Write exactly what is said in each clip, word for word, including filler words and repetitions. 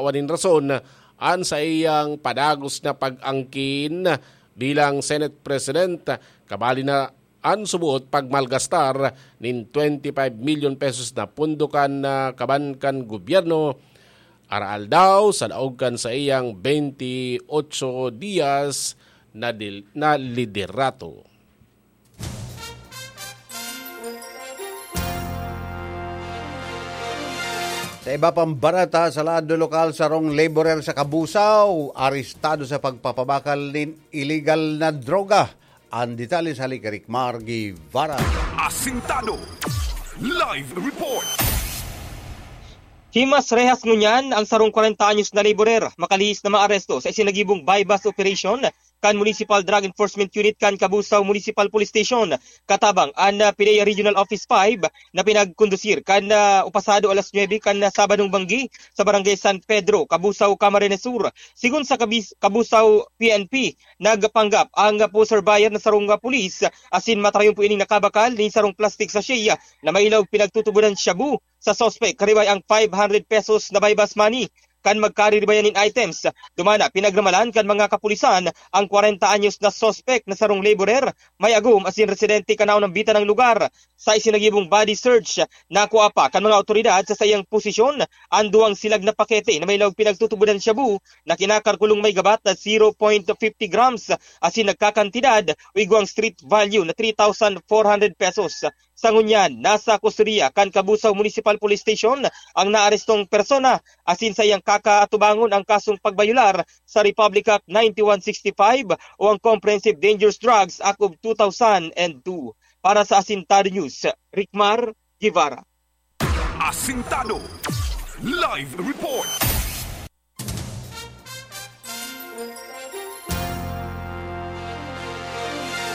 pa nin rason an saiyang padagos na pag-angkin bilang Senate President, kabali na an suboot pagmalgastar nin twenty-five million pesos na pondo kan, ah, kaban kan gobyerno, araal daw sa laog kan saiyang twenty-eight dias na dil-, na liderato. Sa iba pang barata, sa lado lokal, sarong laborer sa Cabusao, arestado sa pagpapabakal nin illegal na droga. Ang detalye sa hali kay Rick Mar Guevara. Asintado. Live report. Himas rehas ngunyan ang sarong kwarenta anyos na laborer, makalihis na maaresto sa isinagibong buy-bust operation kan Municipal Drug Enforcement Unit kan Cabusao Municipal Police Station, katabang an, ah, PDEA Regional Office five na pinagkondusir kan, ah, upasado alas nuebe kan, ah, Sabadong banggi sa Barangay San Pedro, Cabusao, Camarines Sur. Sigon sa Kabis-, Cabusao P N P, nagpanggap ang, ah, poser buyer na sarong, ah, pulis asin matrayon po ining nakabakal nin sarong plastic sachet, ah, na may ilaog pinagtutubodan shabu sa suspek, karibay ang five hundred pesos na buy-bust money. Kan magkariribayan nin items, dumana pinagramalan kan mga kapulisan ang kwarenta anyos na suspek na sarong laborer, may agom asin residente kan naunang bita ng lugar. Sa isinagibong body search, nakua pa kan mga awtoridad sa saiyang posisyon ang duwang silag na pakete na may laog pinagtutubodan shabu na kinakalkulong may gabat na zero point fifty grams asin nagkakantidad o igwang street value na three thousand four hundred pesos. Sa ngunyan, nasa kustodiya kan Cabusao Municipal Police Station ang naarestong persona, asin saiyang kakaatubangon ang kasong pagbayolar sa Republic Act ninety-one sixty-five o ang Comprehensive Dangerous Drugs Act of two thousand and two. Para sa Asintado News, Rickmar Guevara. Asintado. Live report.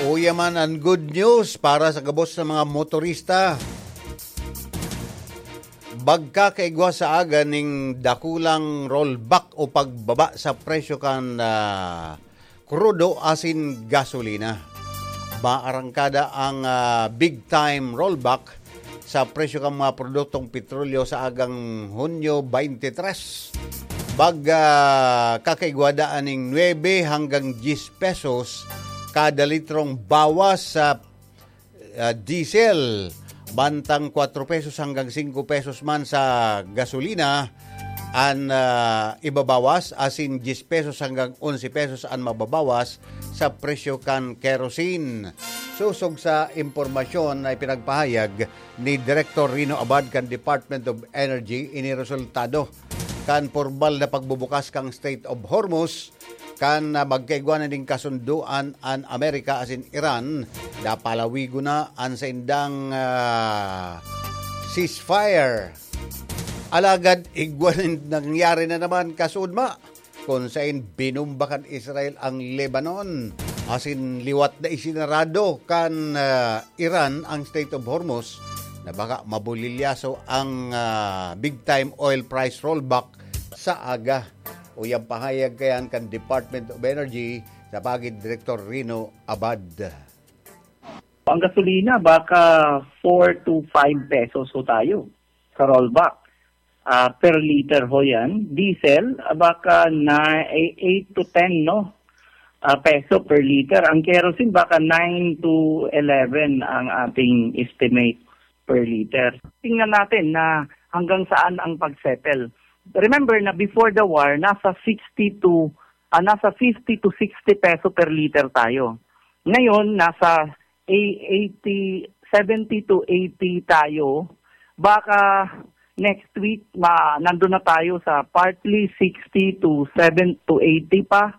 Uya man an good news para sa gabos na mga motorista. Magkakaigwa sa aga ning dakulang rollback o pagbaba sa presyo kan, ah, krudo asin gasolina. Maarangkada ang, ah, big time rollback sa presyo kan mga produktong petrolyo sa agang Hunyo twenty-three. Mag, ah, kakaigwa daan ning nuebe hanggang diyes pesos kada litrong bawas sa, ah, diesel, bantang kwatro pesos hanggang singko pesos man sa gasolina an, ah, ibabawas, asin diyes pesos hanggang onse pesos an mababawas sa presyo kan kerosene. Sosog sa impormasyon na ipinagpahayag ni Director Rino Abad kan Department of Energy, ini resultado kan pormal na pagbubukas kan Strait of Hormuz, kan, ah, magkaigwa na nin kasundoan an Amerika asin Iran, napalawigon na an saindang, ah, ceasefire. Alagad igwa nin nangyari na naman kasuodma, kun saen binumba kan Israel ang Lebanon, asin liwat na isinarado kan, ah, Iran ang Strait of Hormuz, na baka mabulilyaso ang, ah, big time oil price rollback sa aga. Uya an pahayag kayan kan Department of Energy sa pagi ni Direktor Rino Abad. Ang gasolina, baka four to five pesos ho tayo sa rollback. Ah, per liter ho yan. Diesel, ah, baka na eight to ten, no? Ah, peso per liter. Ang kerosene, baka nine to eleven ang ating estimate per liter. Tingnan natin na hanggang saan ang pag-settle. Remember na before the war, nasa sixty to, ah, nasa fifty to sixty peso per liter tayo. Ngayon, nasa eighty, seventy to eighty tayo. Baka next week, ma-, nandun na tayo sa partly sixty to seven to eighty pa.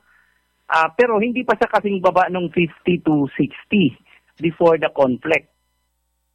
Ah, pero hindi pa siya kasing baba nung fifty to sixty before the conflict.